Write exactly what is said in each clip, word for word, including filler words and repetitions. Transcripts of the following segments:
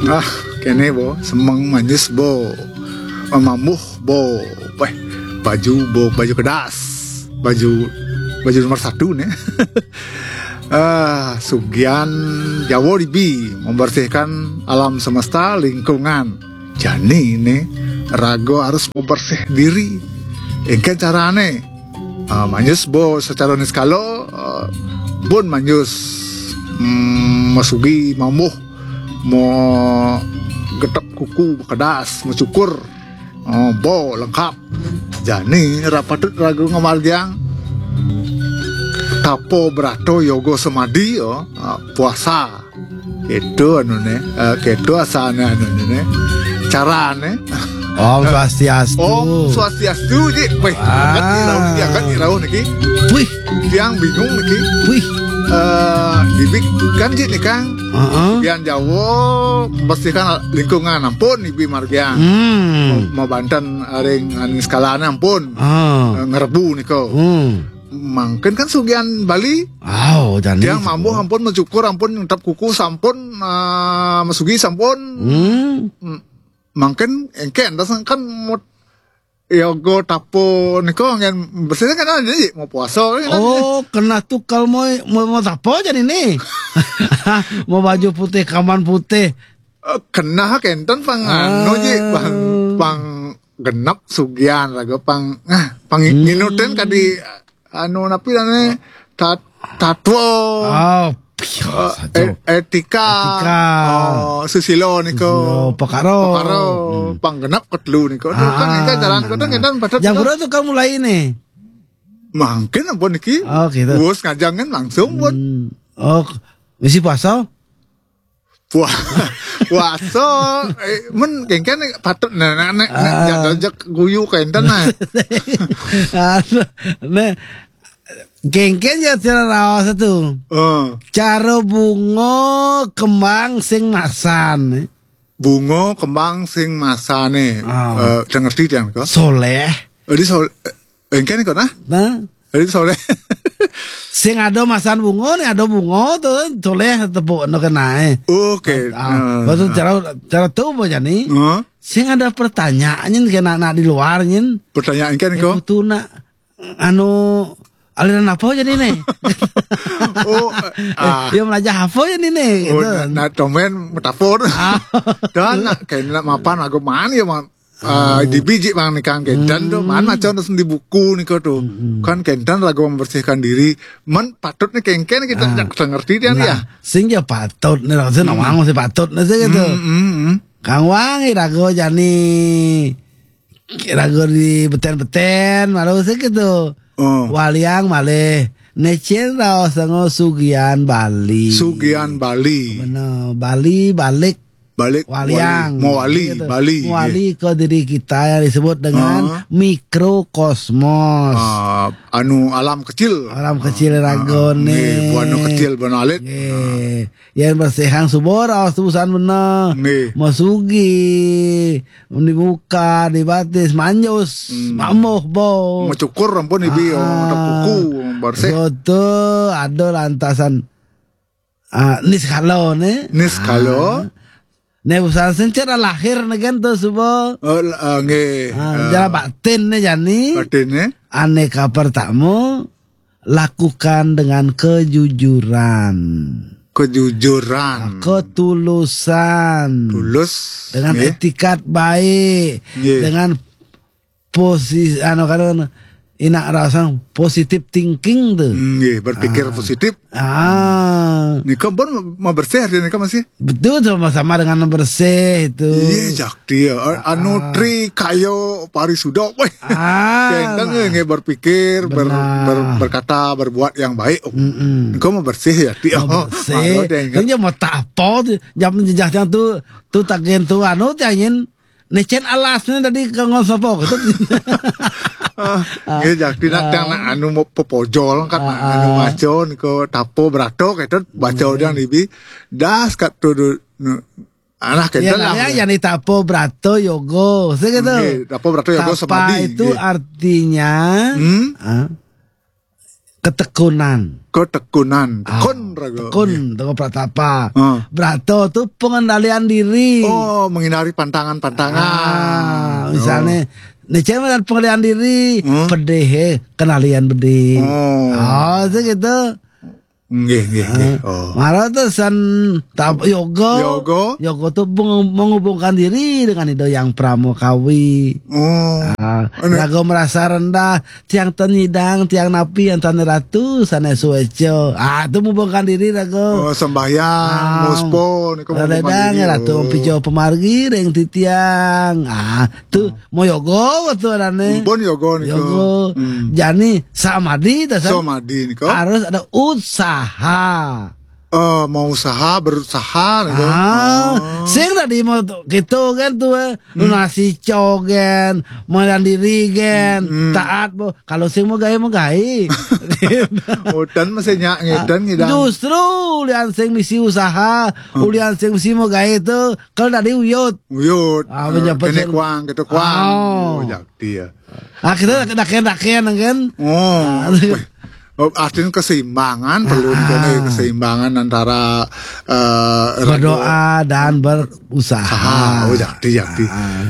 Ah, kene bo, semeng manyus bo, mambuh bo, weh, baju bo, baju kedas, baju baju nomor satu ne. Ah, sugian Jawa dibi membersihkan alam semesta, lingkungan. Jani ne, raga harus membersih diri. Engken carane? Ah, manyus bo secara niskala, ah, bun manyus, mm, masugi mambuh, mo getep kuku bekedas, mo cukur. Oh, bo lengkap. Jani ra patut raga ngamargiang tapa brata yoga semadi, oh, ah, puasa. Itu anu ne, eh, keto asane anu ne, carane. Om Swastiastu. Om Swastiastu, Ji. Weh, Ah. Angkat ni rauh niki. Wih, Tiang bingung niki. Wih. Eh, dibi kan, Ji, ni, Kang. Heeh. Tiang Jawa bersihkan lingkungan, ampun dibi margiang. Hmm. Mau, mau banten ring anu skalane, ampun. Ah. Eh, ngerebu nika. Hmm. Mangkin kan sugian Bali. Oh, jani. Tiang mambuh ampun, mencukur ampun, ngetep kuku sampun, eh, mesugi sampun. Hmm. Hmm. Mangkin engken, dasang kan mut yoga tapa nika ngen bersih kan ada, Ji, mau puasa kan ada. Oh, kena tukal mau, mau, mau tapa jani ni. Mau baju putih, kaman putih. Eh, kena kenten pang anu, Ji, pang, Ah. pang genep sugian raga pang, ah, pang Hmm. nginutin kadi anu napi dane tat-, tatwa. Oh, piah, Eh, saja. et-, etika. Etika. Oh, susila nika. Susila, pakara. Pakara. Hmm. Pang genep ketelu nika. Aduh, kan Ah, engke jalan nah, nika nah. Engke patut Jam nika. Berapa tu kamu mulai ni? Mangkin ampun niki. Oh, gitu. Wus ngajang kan langsung pun. Hmm. Oh, misi puasa? Puah-, puasa, eh, men kengken patut ne, ne, ne, ne, Ah. Jadol jak guyu kenten nah. Anu, ne, kengken ya cara raos tu. Eh. Cara bunga kembang sing masan. Bunga kembang sing masane. Ah. Eh, udah ngerti tiang ko? Soleh. Jadi sol-, eh, engken ko nah? Nah. Jadi soleh. Sing ada masan bunga ni, ada bunga tu, soleh tepuk no kenae. Oke. Ah, Nah. Betul cara, cara tu apa jani? Huh? Sing ada pertanyaan nyen kena nak di luar nyen. Pertanyaan kan Eh, ko? Betul nak, anu, aliran apa jadi ni? Oh, Eh, ah. Dia belajar apa jadi ni? Oh, Gitu. Nak, nak komen metafor. Ah. Dan nak kena mapan aku mana ya, man? Ah, di biji bang ni kan kenten tu, Hmm. Man macam tu di buku ni ko tu. Hmm. Kan kenten lagu membersihkan diri. Man patut ni kengken kita Ah. Tak ngerti dia ni Nah, ya. Sing ya patut ni, rasa Hmm. nawang masih patut ni sih gitu. Hmm, hmm, hmm. Kang Wang, irago jani, irago di beten-beten, malu sih gitu. Oh. Waliang malih. Necen raos sango sugian Bali. Sugian Bali. Benar, Bali balik Balik Waliang. Wali. Mau wali, Gitu. Bali, Mau wali ke diri kita yang disebut dengan Ah. mikrokosmos. Ah, anu alam kecil. Alam kecil Ah, ragon ni. Nggih, buana kecil, buana alit. Nggih. Yang bersihang subur, awas tubusan benar. Nggih. Masugi, dibuka, dibatis, manjus, Hmm. mamuh, bau. Mecukur ampun ibi, Ah. Orang kuku, bersih. Soto, ada lantasan. Ah, niskala ne. Niskala. Ah. Ne usaha sencera lahir ne kan tu suba. Oh, la-, ah, nggih. Ah, Ah. Jala batin ne jani. Batin ne. Aneka pertama, lakukan dengan kejujuran. Kejujuran. Ketulusan. Tulus. Dengan Nggih. Etikat baik. Nggih. Dengan posi-, anu, kan, inak rasang positive thinking tu. Hmm, nggih, berpikir Ah. positif. Ah. Nika pun mau bersih hari nika masih. Betul, sama-sama dengan bersih tu. Iya, jak dia. A-, anu Ah. tri kayo parisuda. Weh. Ah, Kentang nah. Nggih berpikir, ber-, Benar. ber-, berkata, berbuat yang baik. Oh, Mm-mm. Nika mau bersih ya, ti. Mau Oh, bersih. Malu deh, Kan dia mau tak apa tu. Jam jejah tu, tu tagen tu, anu, tiangin. Necen alas ni tadi kanggo sapa gitu. Ah, nggih, jadi nak Ah. Tang nak anu mau pepojol kan, nak Ah, anu ah. Maco niko tapo brato gitu, baca Nggih. Orang dibi. Das kat tu du-, nu-, alah Ya, kita lah. Namanya yang ditapo brato yogo, saya gitu. Nggih, tapo brato yogo Tapa samadhi, itu nggih. Artinya, Hmm? Ah, ketekunan. Ketekunan. Ah. Tekun Raga. Tekun, Teguh Pratapa. Heeh. Brato tu pengendalian diri. Oh, menghindari pantangan-pantangan. Ah, misalnya, nih, cewek dan pengendalian diri, pedih, eh, kendalian pedih. Oh. Oh, itu gitu. Nggih, nggih, nggih. Oh. Mara tu sen tap yoga. Yoga. Yoga tu meng-, menghubungkan diri dengan Ida Hyang Pramokawi. Oh. Ah, raga merasa rendah, tiang ten nyidang, tiang napi, yang tane ratu, sanes sueca. Ah, tu menghubungkan diri raga. Oh, sembahyang, ah, muspa, nika menghubungkan diri. Ratu, oh, mpijo pamargi ring titiang. Ah, tu mau yoga tu arane. Pun yoga nika. Yoga. Hmm. Jani samadhi, ta, San? Samadhi nika. Harus ada usaha. Eh, mau usaha, berusaha nika. Ah, oh, sing tadi mau tu, gitu kan tu, eh. Hmm. Lunasi cogen, melandiri gen, hmm, taat, bo. Kalau sing mau gawe, mau gawe. Udan masih nyak ngedan ngidang. Justru ulian sing misi usaha, hmm, ulian sing misi mau gawe tu, kalau tadi uyut. Uyut. Ah, eh, pejabat kene yang kuang, gitu kuang. Oh. Oh, jakti ya. Ah, kita daken-daken kan. Oh. Ah. Weh. Oh, artinya keseimbangan, perlu, ah, kene keseimbangan antara, eh, berdoa dan berusaha. Usaha. Oh, jakti, jakti. Ah.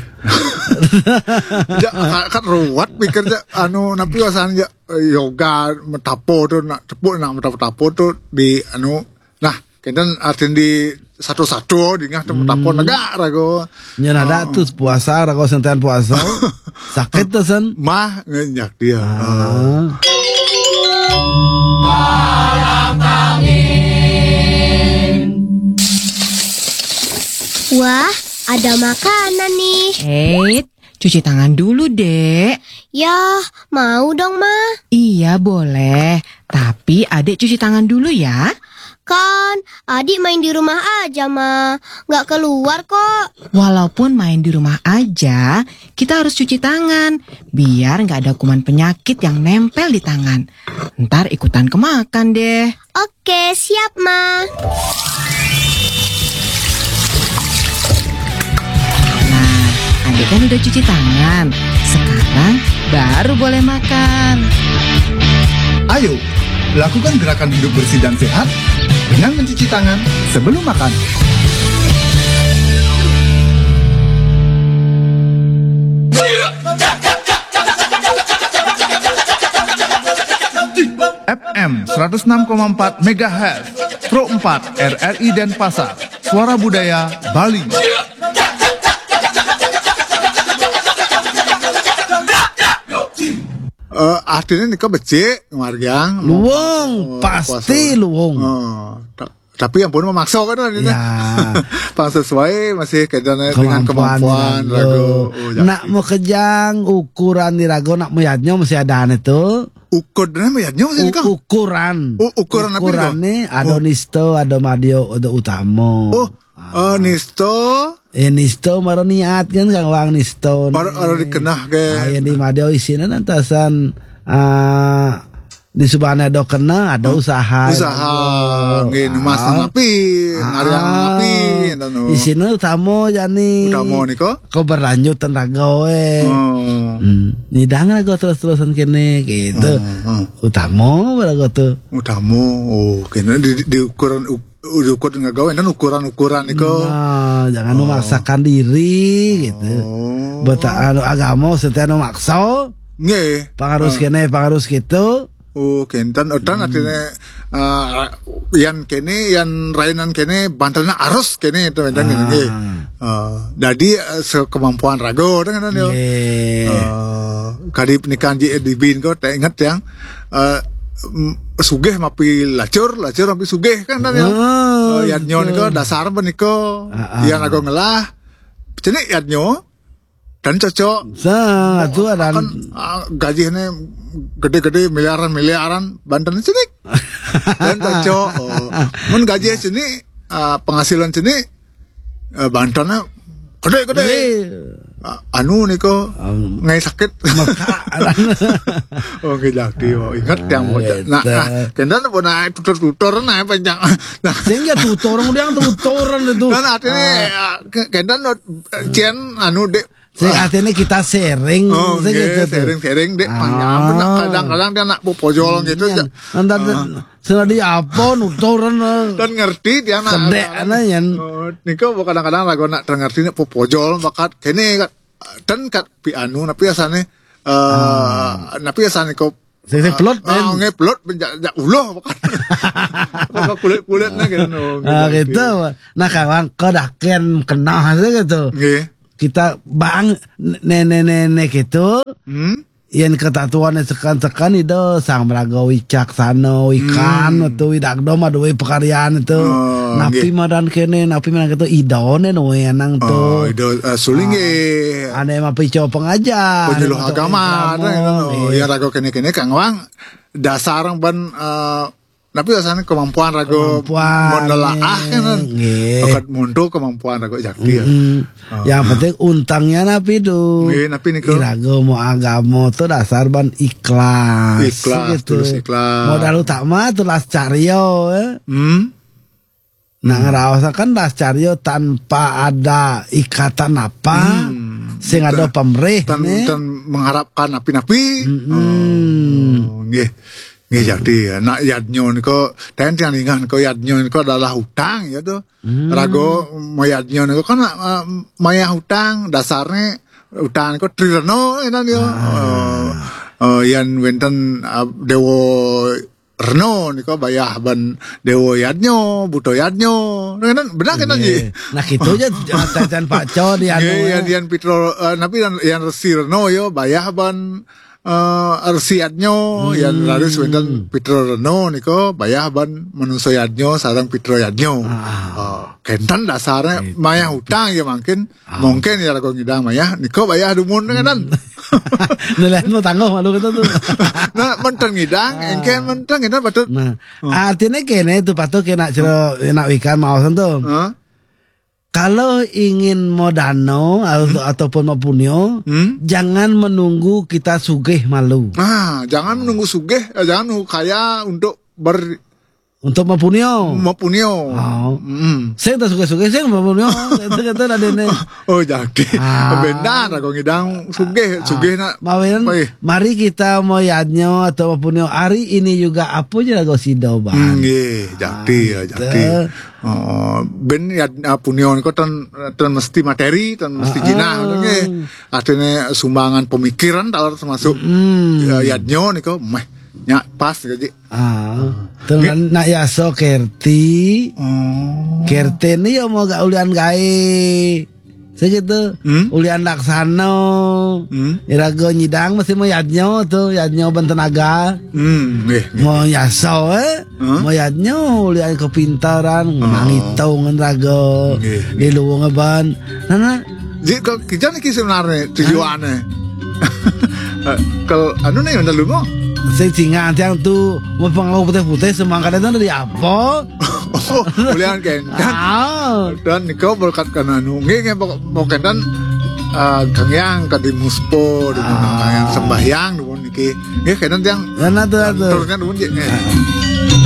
Ja, kan, kan ruwet pikir ja, anu, napi wasan ja, eh, yoga, metapo tu, nak tepuk, nak metapo-tapo tu di, anu, nah, kenten artin di satu-satu, dingah tu, hmm, metapo negak raga. Nya nada tu puasa, raga senten puasa. Sakit tu, San. Mah, ngenyak dia. Ah. Wah, ada makanan nih. Eh, cuci tangan dulu, Dek. Ya, mau dong, Ma. Iya, boleh. Tapi Adik cuci tangan dulu ya. Kan, Adik main di rumah aja, Ma. Nggak keluar kok. Walaupun main di rumah aja, kita harus cuci tangan. Biar nggak ada kuman penyakit yang nempel di tangan. Ntar ikutan kemakan deh. Oke, siap, Ma. Nah, Adik kan udah cuci tangan. Sekarang baru boleh makan. Ayo, lakukan gerakan hidup bersih dan sehat dengan mencuci tangan sebelum makan. F M seratus enam koma empat megahertz, Pro empat R R I Denpasar, Suara Budaya Bali. Eh, artinya nika becik, margiang. Luwung, eh, pasti puasa. Luwung. Eh, ta-, tapi ampun memaksa kan, artinya. Ya. Pang sesuai masih kaitannya dengan kemampuan, kemampuan raga. Raga. Oh, nak jadi. Mau kejang ukuran di raga, nak mau yadnya masih ada ane tu. Ukur dan mau yadnya masih u-, nika? Ukuran. Oh, ukuran apa nika? Ukuran nih, ada, oh, nista, ada madya, ada utama. Oh, eh, nista. Eh, nista mara niat kan, kang wang nista. Mara, mara dikenah ke. Ah, yang di madya isina nantasan, ah, di subane ada kena, ada usaha. Usaha, nggih, numas napi, ah, ngariang napi, enten, oh. Isina utama jani. Utama nika? Kau berlanjut tenaga we. Oh. Hmm. Nyidang raga terus-terusan kene, gitu. Oh, oh. Utama raga tu. Utama, oh, kene di, di ukuran, uk-, diukur dengan gawe, enten ukuran-ukuran nika. Nah, jangan, oh, memaksakan diri, gitu. Oh. Beta-, anu, agama, setiap anu maksa. Nggih. Pang harus, ah, kene, pang harus gitu. Oh, kenten, udan, hmm, artinya, eh, yan kene, yan rainan kene, bantalnya arus kene, itu, enten, ah, kene, nggih. Eh, jadi, eh, sekemampuan raga, enten, enten, yo. Nggih. Eh, kadi pernikahan ji di bin ko, tak ingat yang, eh, m-, sugih mapi lacur, lacur mapi sugih kan, enten, yo. Ah, eh, yadnya betul. Nika, dasar apa nika? Ah, ah. Yan raga ngelah, cenik yadnya, dan cocok. Sa, tu ada kan, ah, gajinya gede-gede, miliaran-miliaran, banten cenik. Dan cocok. Oh. Mun gaji cenik, ah, penghasilan cenik, eh, bantennya gede-gede. Gede. Ah, anu nika, um, ngai sakit. Maka, oh, nggih, jakti, oh, ingat yang mau. Ah, nah, itu. Nah, kenten apa naik tutor-tutor, naik panjang. Nah. Sehingga tutor, dia tutoran itu. Kan artinya, ah, ya, ke-, kenten, eh, cen, anu, dek. Sing artinya kita sharing, oh, sing nggih, gitu tuh. Sharing-sharing, dek, ah, panjang, kadang-kadang dia nak popojol gitu, iya, ya. Nanti, ah, Sing dadi apa nuturan. Dan ngerti dia nak. Kedek anak yan. Oh, nika kadang-kadang lagu nak ngerti nak popojol bakat kene kat dan kat pi anu napi asane eh napi asane ko Sing sing pelot, ah, nge pelot jak jak uloh bakat. Kok kulit-kulit nah gitu. Oh, ah, gitu. Gitu. Nah, kawan, kedaken kenah aja gitu. Nggih. Kita bang nenek-nenek gitu. Hmm? Yen ketatuan sekan-sekan itu sang meraga wicaksana, wikan itu widagdo maduwe pekaryan itu. Oh, napi nggih. Madan kene, napi madan gitu idone nuwe nang to. Oh, ido uh, suling nggih. Ane mapico pengajar. Penyuluh agama, ada yang ngono. Nggih. Ya raga kene-kene Kang Wang dasar ban eh, tapi rasanya kemampuan raga menelaah kan. Nggih. Bakat mundur kemampuan raga jakti ya. Mm-mm. Oh. Yang penting untangnya napi tu. Nggih, napi niku? Iraga mau agama tu dasar ban ikhlas. Ikhlas, gitu. Tulus ikhlas. Modal utama tu las caryo ya. Hmm. Nah, ngeraosaken las caryo tanpa ada ikatan apa, hmm, sing ada pamrih, tan, nih. Tan mengharapkan napi-napi. Mm-mm. Oh, nggih. Nggih, jadi ya. Nak yadnyo niko, ten tiang ingat niko yadnyo niko adalah hutang ya tuh. Hmm. Rago mayadnyo niko kan uh, mayah hutang dasarnya hutang niko trireno enan yo. Ah. Uh, uh, yan wenten uh, dewo Reno nika bayah ban Dewa Yadnyo, Buto Yadnyo. Kan benar kan, Ji? Nah, gitu aja, cacan Pak Co di anu, nggih, ya. Yan, yan Pitro, eh, napi yan, yan Resi Reno yo bayah ban eh, Resi Yadnyo, yan raris wenten Pitro Reno nika bayah ban Manusa Yadnyo sareng Pitro Yadnyo. Ah. Oh, kenten dasarnya gitu. Mayah hutang ya mungkin. Ah. Mungkin ya lagu ngidang mayah, nika bayah dumun kan. Nelayan mau tangguh malu kita tuh. Nah, menten ngidang, engke menten ngidang patut. Nah, artinya kene itu patut kena cero nak wikan maosan tuh. Hah? Kalau ingin modano atau, ataupun mau punyo, jangan menunggu kita sugih malu. Nah, jangan menunggu sugih, eh, jangan menunggu kaya untuk ber, untuk mapunyo. Mapunyo. Oh. Mm. Sing tak sugih-sugih, sing mapunyo. Itu kata dah dene. Oh, jadi. Ah. Benar, aku ngidang sugih, sugih nak. Mawinan, mari kita mau yadnyo atau mapunyo. Hari ini juga apa je lagu sido, Bang. Hmm, nggih, jadi ya, gitu. Jadi. Oh, ben ya, ah, punyo niko tan, tan mesti materi, tan mesti jinah, nggih. Artinya sumbangan pemikiran, talar termasuk ya, yadnyo niko, meh, nyak pas, jadi. Ah, terus nak yaso kerti. Oh. Kerti ni yo mau gak ulian gae. Segitu. Hmm? Ulian laksano. Hmm? Irago nyidang mesti mau yadnyo tuh, yadnyo ben tenaga. Hmm, nggih, nggih. Mau yaso, eh? Hah? Mau yadnyo ulian kepintaran, menang hitung rago. Nggih, nggih. Di luwung ban. Nah, nah. Jadi kok kita nih sebenarnya tujuannya. Eh, kalau anu nih udah lu mau? Sing singan tiang tu mau pengaruh putih-putih semangka itu dari apa? Oh, mulian kenten. Ah. Dan nika berkat kana anu. Nggih, nggih, pokok, pokok kenten eh, Kang Yang kadi muspo di mana yang sembahyang di mana niki. Nggih, kenten tiang. Ya, nah, tuh, tuh. Terusnya di mana, nggih.